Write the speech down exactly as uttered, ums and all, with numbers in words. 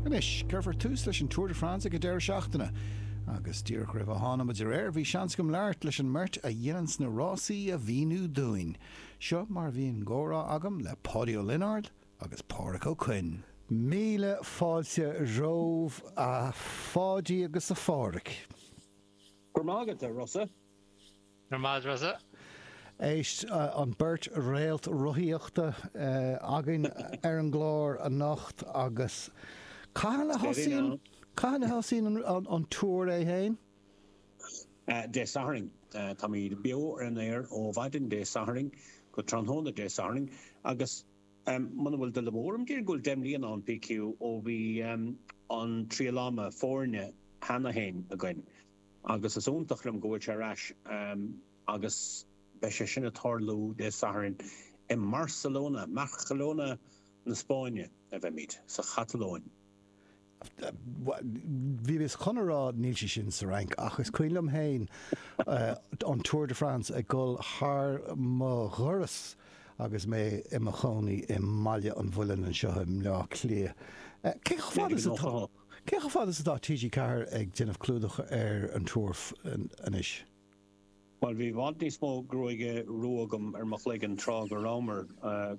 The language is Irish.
Anois, cuirfear tús leis an Tour de France ag an deireadh seachtaine. Agus díreach roimh a tháinig muid ar aer bhí seans agam labhairt leis an mbeirt a dhéananns na rásaí a mhíniú dúinn. Seo mar bhí an comhrá agam le Páidí Ó Lionáird agus Pádraic Ó Coinn. Míle fáilte romhaibh a Pháidí agus a Phádraic. Gur mágad a Rosa. Gur maith Rosa. Éist an beirt réalt rothaíochta againn ar an gclár anocht agus cathain a thosaíonn cathain a thosaíonn an Tour é féin? Dé Sathairn Táimid beo ar an aer ó mhaidin Dé Sathairn go tráthnóna Dé Sathairn agus muna bhfuil dul amú orm deir go bhfuil deich mbliana ann PQ ó bhí an triail ama foirne cheana féin againn agus is iontach liom go bhfuil sé ar ais agus beidh sé sin ag tarlú Dé Sathairn i mBarcelona, Barcelona na Spáinne a bheimid sa Chatalóin. Bhí mé chun a rá níl sé sin sa Fhrainc ach is cuimhin liom féin an Tour de France ag dul thar mo dhoras agus mé i mo chónaí i mBaile an Mhuilinn anseo i mBleá Cliath. Cé chomh fada is atá Cé chomh fada is atá TG Ceathair ag déanamh clúdach ar an Tour anois? Well bhí i bhfad níos mó gruaige rua agam ar mo chloigeann tráth go rabhamar go